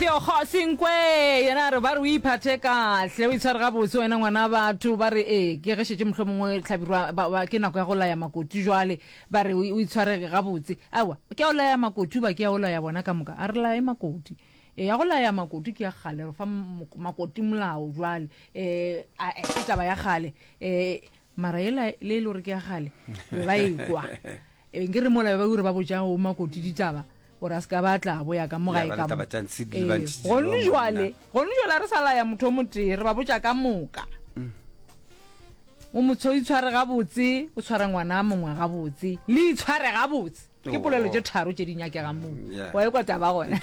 Theokgo Senkwe yena a re ba re o iphathe kahle o itshware gabotse wena ngwana batho ba re ee ke ge šetše mohlomongwe hlabirwa ba, ba, ke nako ya go laya makoti jwale ba re o itshware gabotse aowa ke ya go laya makoti ba ke ya go laya bona ka moka a re laye makoti e ya go laya makoti ke ya kgale re fa makoti molao jwale um ke taba ya kgale um Mara yela le e le gore ke ya kgale be ba ekwa e nke re mola be ba ure ba botša o makoti ditaba gore a se ka ba tla boya ka mo gae ka mo gone jwale gone jwale a re sa laya motho o motee re ba botša ka moka mm. o motho o itshware gabotse o tshware ngwana mongwe gabotse le itshware gabotse Ke polelo tše tharo tše di nyakegang moo. Wa ekwa taba gona.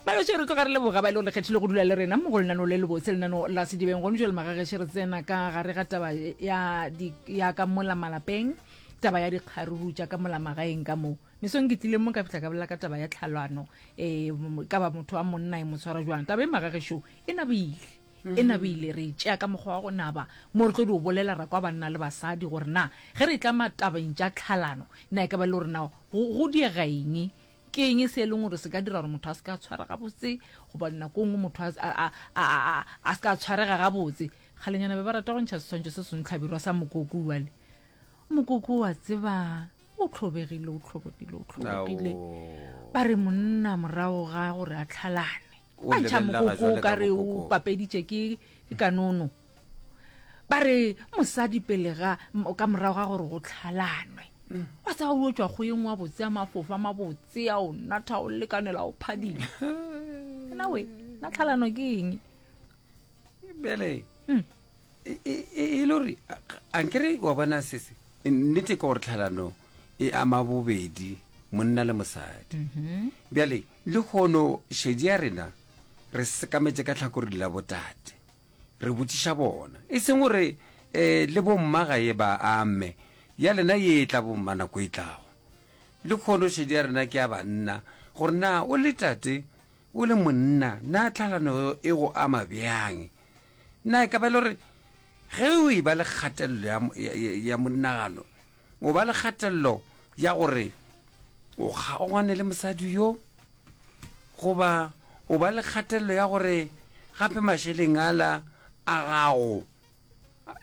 Baloše re tloga re leboga ba e le gore le kgethile go dula le rena mo go lenaneo le lebotse lenaneo la sedibeng. Gone jwale magageše re tsena ka gare ga taba ya, di, ya ka mola malapeng, taba ya dikgaruru tša ka mola magaeng ka mo. Mesong ke tlile mo ka fihla ka bolela ka taba ya tlhalano, e, ka ba motho wa monna e mo tshwara jwang. Taba e magagešo e nabile. E nabile, re e tšea ka mokgwa wa go naba, mo re tlo dio bolela ra kwa banna le basadi gore na ge re etla matabeng tša tlhalano, na e ka ba e le gore na go, go diega eng, ke eng se e leng gore se ka dira gore motho a se ka a tshwara gabotse, goba nako e nngwe motho a, a, a, a, a, a se ka a tshwarega gabotse. Kgalenyana be ba rata go ntšha seswantšho se sengwe hlabirwa sa mokoko wale. Mokoko wa tseba o hlobegile, o hlobegile, o hlobegile. Ba re monna morago ga gore a tlhalane, O A ntšha lebelela mokoko jwale o ka ka re o mokoko. papeditše ke ke kanono. Ba re mosadi pele ga m- ka morago ga gore go tlhalanwe. Wa tseba o tšwa kgoyeng wa botse a mafofa mabotse a o natha o lekanela o phadima. Nna we, na tlhalano ke eng? Bjale Mm. e e- e e le gore a nkere wa bona sese nnete ke gore tlhalano e ama bobedi monna le mosadi. Bjale Lehono šedi ya rena re sekametše ka tlhakoring la botate, re botšiša bona, e seng gore um le bomma ga e ba ame, ya lena ye e tla bomma nako e tlago. Lehono šedi ya rena ke ya banna, gore na o le tate, o le monna, na tlhalano e go ama bjang? Na e ka ba e le gore ge o e ba le kgatelelo ya, ya, ya monagano, O ba le kgatelelo ya gore o kgaogane le mosadi yo, goba o ba le kgatelelo ya gore gape mašeleng ala a gago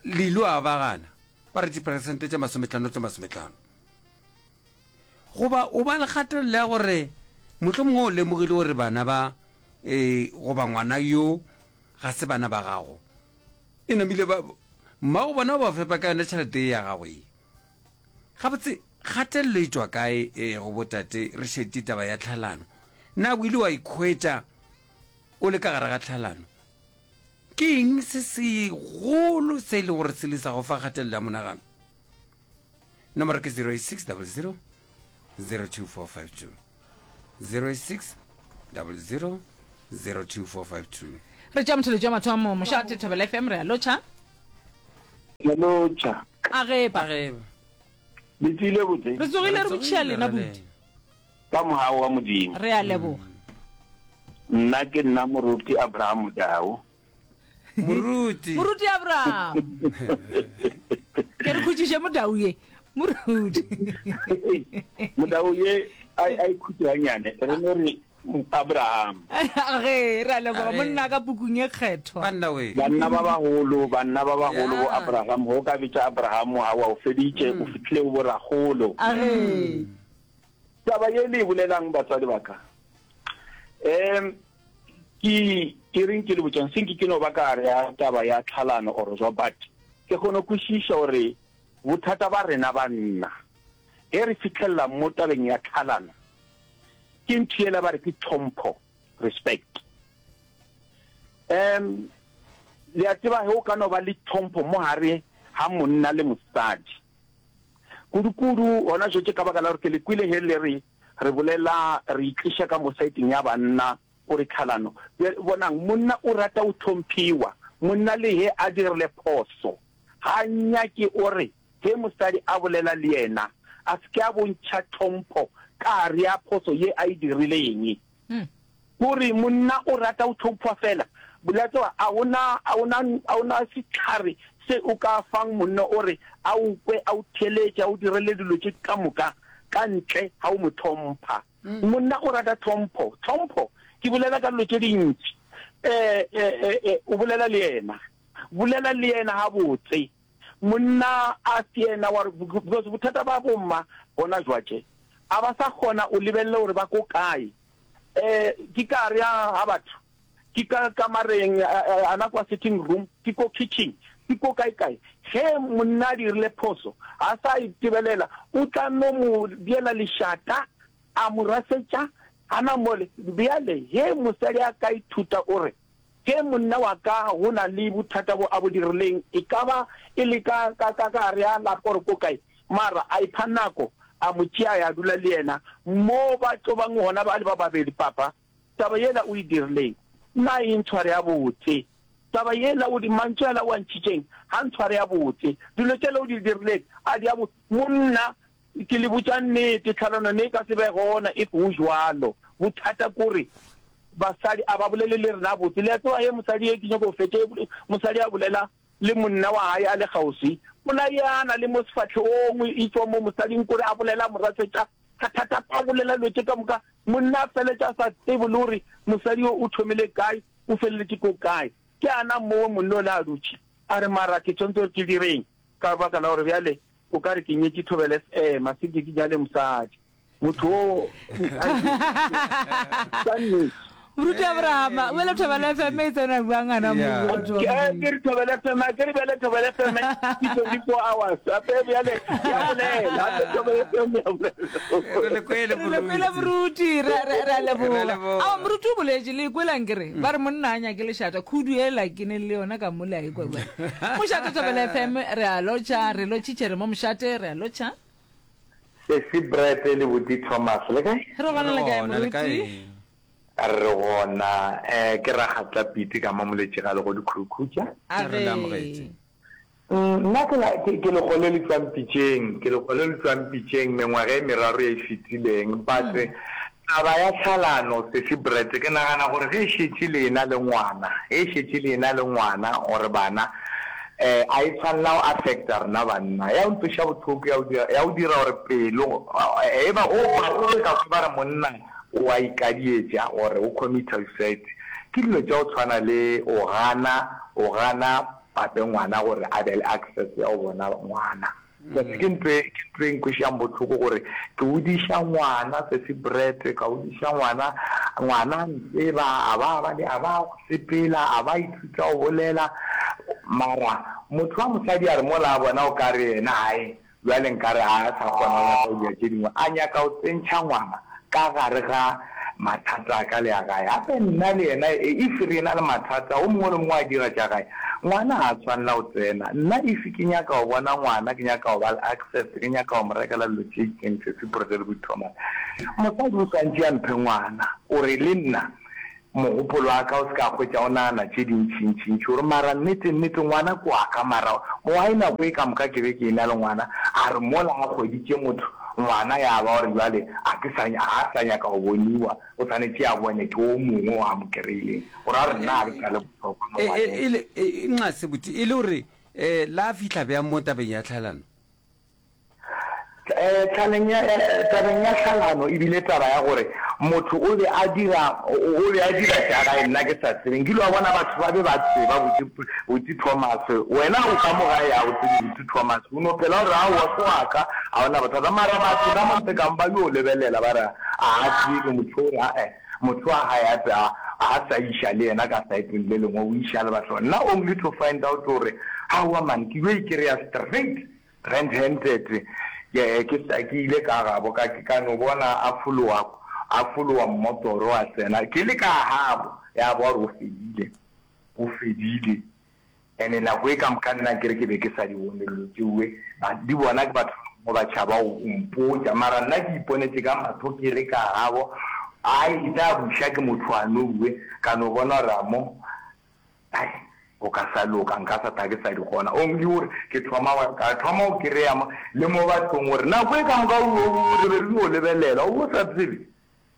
le ilo a bagana, ba re diperesente tše masometlhano tše masometlhano. Goba o ba le kgatelelo ya gore mohlomongwe o lemogile gore bana ba e, goba ngwana yo ga se bana ba gago. E namile ba mmago bona o ba fepa ka yona tšhelete ye ya gago ye. Gabotse kgatelelo e tšwa kae e go botate re šetše taba ya tlhalano? Na o ile wa ikhwetša o le ka gare ga tlhalano? Ke eng se segolo se e le gore se le sa go fa kgatelelo ya monagano? Nomoro ke 086 00 02452. 086 00 02452. Re tšea motheletši wa mathomo mošate Thobela FM re a lotšha. Re lotšha. A gepa. Le tsile botse. Re tsogile re botšhia lena buti. Ka mogau wa Modimo. Re a leboga. Nna ke nna Moruti Abraham Modau. Moruti. Moruti Abraham. Ke re khutšiše modau ye. Moruti. Modau ye a a ikhutše ganyane. Re no re Abraham. Ge re a leboga monna ka pukung e kgethwa. Banna we. Banna ba bagolo, banna ba bagolo bo Abraham, go ka bitša Abraham ha wa o feditše, o fihlile go boragolo. A ge. Taba ye le e bolelang batswadi ba ka. Um Ke, ke reng ke le botšang, se nke ke no ba ka gare ya taba ya tlhalano or jwa, but ke kgone kwešiša gore bothata ba rena banna ge re fihlelela mo tabeng ya tlhalano ke ntho yela ba re ke tlhompho, respect. Um le a tseba ge o ka no ba le tlhompho mo gare ga monna le mosadi, kudu-kudu gona jwetše ka baka la gore ke le kwele ge le re Re bolela, re itliša ka mo saeteng ya banna, gore tlhalano. Bjale, bonang, monna o rata go hlomphiwa. Monna le ge a dirile phoso, ga a nyake o re ge mosadi a bolela le yena, a se ke a bontšha tlhompho ka gare ya phoso ye a e dirileng. Gore monna o rata go tlhomphiwa fela. Le a tseba, a go na, a go na, a go na sehlare se o ka fang monna o re a o kwe, a o theeletše, a o direle dilo tše ka moka ka ntle ga o mo hlompha. Monna o rata tlhompho. Tlhompho. Ke bolela ka dilo tše dintši. Eh, eh, eh, eh, o bolela le yena. Bolela le yena gabotse. Monna a se yena wa re, because bothata ba bomma gona jwatše, a ba sa kgona o lebelele gore ba ko kae. Eh, ke ka gare ga batho, ke ka kamareng, ana kwa sitting room, ke ko kitchen, ke ko kae kae. Ge monna a dirile phoso, a sa itebelela, o tla no mo diela lešata, a mo rasetša gana mole. Bjale ge mosadi a ka ithuta o re, Ge monna wa ka go na le bothata bo a bo dirileng, e ka ba e le ka, ka, ka gare ga lapa or ko kae, mara a ipha nako, a mo tšea a ya dula le yena mo ba tlo bang gona ba le ba babedi, Papa, taba yela o e dirileng, nna e ntshware gabotse. Taba yela o di, mantšu ala o a ntšhitšeng, ga ntshware gabotse. Dilo tšela o di dirileng, a di a bo. Monna, Ke le botša nnete, tlhalano ne e ka se be gona if go jwalo. Bothata kore basadi a ba bolele le rena botse. Le a tseba he mosadi ye ke nyako go fetša, mosadi a bolela le monna wa hae a le kgauswi, o layana le mo sefahlegong, e tšwa mo mosading kore a bolela a mo rasetša ka thata, a bolela dilo tše ka moka, monna a feletša a sa tsebe le gore mosadi yo o thomile kae, o feleletše ko kae. Ke ana mowe monna o le a dutše a re mara ke tshwanetse gore ke direng ka baka la gore bjale O ka re ke nyetše Thobela FM, a se ke ke nyale mosadi. Motho o ka nnete. Moruti Abrahama, bjale Thobela FM e tsena bjang gana mo? Yeah. Batho ba Ke Modimo? ke re Thobela FM, a ke re bjale Thobela FM ke 24 hours. Gape bjale ya bolela, gape Thobela FM ya bolela. Re le kwele Re le kwele moruti. moruti, re re- re a Re a leboga. leboga. Ao moruti o boletše, le ikwelang ke re, ba re monna a nyake lešata, khudu ela ke ne le yona ka mola e kwa bjale. Mošate Thobela FM, re a lotšha, re lotšhitše re mo mošate, re a lotšha. Sesi Brett le Buti Thomas, le kae? Re gona le kae Re gona, le kae? moruti? Re gona. Eh, ke Rakgatla Pete ka mo Moletšegale go Dikhurukhutša. A Re le amogetše. ge. Nna ke la, ke, ke lekgole le tšwang pitšeng, ke lekgole le tšwang pitšeng mengwaga e meraro ye e fetileng. But taba ya tlhalano, Sesi Brett, ke nagana gore ge e šetše le ena le ngwana, ge e šetše le ena le ngwana or bana, eh, a e tshwanela go affecta rena banna. Ya go ntweša bohloko, ya go dira, ya go dira gore pelo, e ba, o, o ka kwa ba re monna o a ikadietša or o commita suicide. Ke dilo tša go tshwana le o gana, o gana Gape ngwana gore a be le access ya go bona ngwana. Because ke ntho e, ke ntho e nkwešang bohloko gore ke godiša ngwana sesi Brett, ka godiša ngwana, ngwana a ntseba, a ba ba le, a ba sepela, a ba ithuta go bolela. Mara motho wa mosadi a re mola a bona o ka re yena hai, Bjale nkare a sa kgona go nyaka go dira tše dingwe, a nyaka go tsentšha ngwana ka gare ga mathata a ka le a gae. Gape nna le yena if re ena le mathata, o mongwe le mongwe a dira tša gae, ngwana ga a tshwanela go tsena. Nna if ke nyaka go bona ngwana, ke nyaka go ba le access, ke nyaka go mo rekela dilo tše itseng, Sesi Brother le Thomas, mosadi o swantše a mphe ngwana, o re le nna Mogopolo wa ka o se ka hwetša o nagana tše dintšintšintši, o re, Mara nnete, nnete, ngwana ke wa ka. Mara why nako e ka moka ke be ke e na le ngwana? A re mola a hweditše motho, ngwana ya ba gore bjale a ke sa, ga a sa nyaka go boniwa, o swanetše a bone ke o mongwe o a mo kry-ileng. Go ra gore nna ga ke sa le bohlokwa mo E, e, ngwaneng. e le, e, nxa se, e le gore, eh, la fihla bjang mo tabeng ya tlhalano? Tlhaleng ya, tabeng ya tlhalano e bile taba ya gore motho o be a dira, o be a dira tša gae nna ke sa tsebe. Nkile wa bona batho ba be ba tseba botse, botse Thomas. Wena o ka mo gae ga o tsebe botse Thomas. O no phela o re aowa ke wa ka, ga o na bothata. Mara batho ka mo ntle ka mo ba yo lebelela ba re a a tsebe motho o re ae, motho wa gae gape a, a sa iša le yena ka saeteng le lengwe, o iša le batho. Nna only to find out gore aowa man ke yo e kry-a straight Red handed, ke, ke sa, ke ile ka gabo, ka, ka no bona a fologa, a fologa mmotoro a tsena, ke le ka gabo, ya ba gore o fedile, o fedile. Ene nako e ka moka nna ke re ke be ke sa di bone dilo tšeoe, ba di bona ke batho ba bangwe ba tšhaba go mpotša, mara nna ke iponetše ka mahlo ke le ka gabo, a etla a buša ke motho a noue, ka no bona gore a mo, Ai, go ka sa loka, nka sa tla ke sa di kgona. Only gore ke thoma go, ka thoma go kereya mo, le mo bathong gore nako e ka moka o, o, re be re yo lebelela, o bo sa tsebe.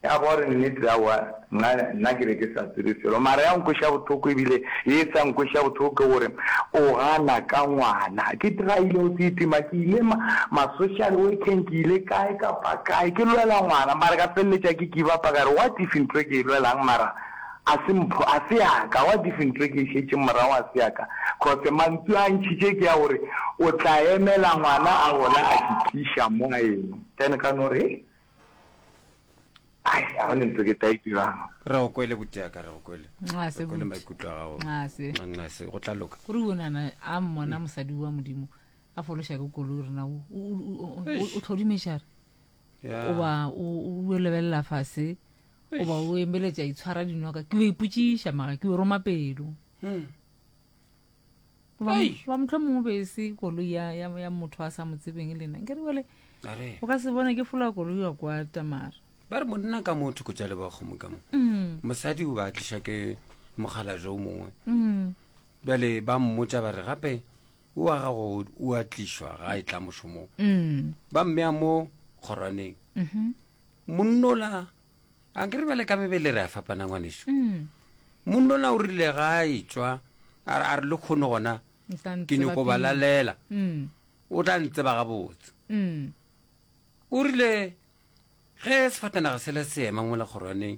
Ya ba gore nnete aowa nna nna ke be ke sa tsebe selo. Mara ya nkweša bohloko ebile ye e sa nkweša bohloko ke gore o gana ka ngwana. Ke tryile go se itima ke ile ma ma social workeng ke ile kae kapa kae ke lwela ngwana mara ka feleletša ke give up-a ka re what if ntho e ke e lwelang mara a se mpho a se ya ka what if ntho e ke e šetšeng morago a se ya ka cause mantšu a ntšhitše ke a gore o tla emela ngwana a gola a ke tliša mo a eno then ka no re hei Ai, ga go ne ntho ke tla e dirang. Re go kwele botiaka, re go kwele. Nxase, Re kwele buti. maikutlo a gago. Nxase. Nxase, go tla loka. Gore o nana a mmona mosadi wa modimo a fološa ke koloi rena o o- o- o- o tlhodimeša re Ya. oba o o lebelela fase oba o embeletša itshwara dinoka ke o ipotšiša mara ke o roma pelo Hmm. Goba mohlomongwe mongwe be e se koloi ya, ya, ya motho a sa mo tsebeng le nna nkere bjale Are. o ka se bone ke fola koloi wa kwa tamara ba re monna ka mo thoko tša lebakgomo ka mo mm. mosadi o ba tliša ke mokgalabje o mongwe mm. bjale ba mmotša ba re gape o wa gago o a tlišwa ga e tla mošomong mm. ba mmea mo kgorwaneng mm -hmm. monnola A ke re bjale ka mebele re a fapana ngwanešu. Mm. Monnola o rile ga a etšwa a re a re le kgono gona O tla ke ntseba nyoko ba pele. lalela Mm. o tla ntseba gabotse. Mm. O rile ge sefatanaga sela se ema mola kgorwaneng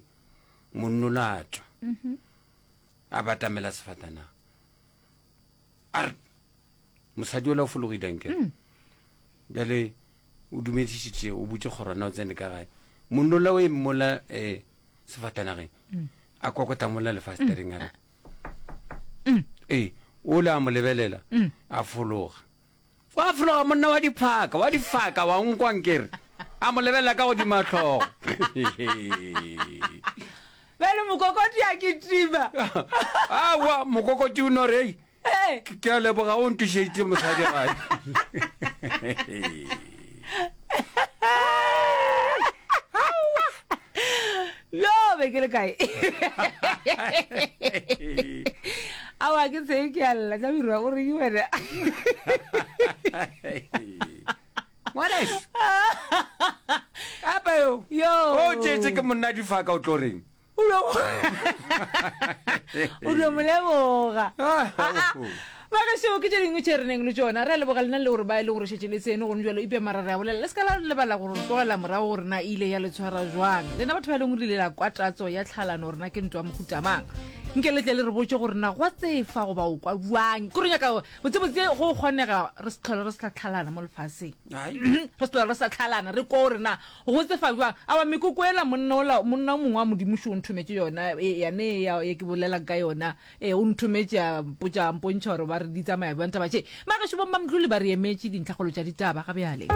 monnola a tšwa Mhm. a batamela sefatanaga a re mosadi ola o fologile nkere Mm. bjale O dumedišitše, o butše kgorwana, o tsene ka gae. Monnola o eme mola um sefatanageng, a kokota mola lefastereng a re, ee, o le a mo lebelela, a fologa. Wa fologa monna wa diphaka, wa difaka, wa nkwa nkere. A mo lebelela ka godimo a hlogo. Bjale mokokoti a kitima. Aowa, mokokoti o no re, ei, Hey. Ke a leboga o ntušeditše mosadi gae. Yo, be ke le kae? Aowa ke tseye ke a lla tla birwa o reng wena? Ngwaneso. Gape yo. Yo. O tšeetše ke monna difaka o tlo reng? O dio mo leboga. Ah, Ah, ah. Bagešo ke tše dingwe tše re neng le tšona. Re a leboga lena le gore ba e le gore šetše le tsene gone jalo eupša mara re a bolela le se ka la lebala gore tlogela morago gore na e ile ya le tshwara jwang. Lena batho ba e leng gore le ile la kwa tatso ya tlhalano gore na ke ntwa mohuta mang. Nke le tle le re botše gore na gwa tsefa goba o kwa bjang. Ke re nyaka botsebotse go kgonega re se tlhole re sa tlhalana mo lefaseng. Ai. Re se tlhole re sa tlhalana re kwa gore na Go tsefa bjang? Aowa, mekoko yela monna ola, monna o mongwe wa Modimo šo o nthometše yona, e, yane ya, ye ke bolelang ka yona, e, o nthometše a mpotša, a mpontšha gore ba re di tsamaya bjang taba tše. Magešo bommamdluli ba re emetše dintlhakgolo tša ditaba ga bjale.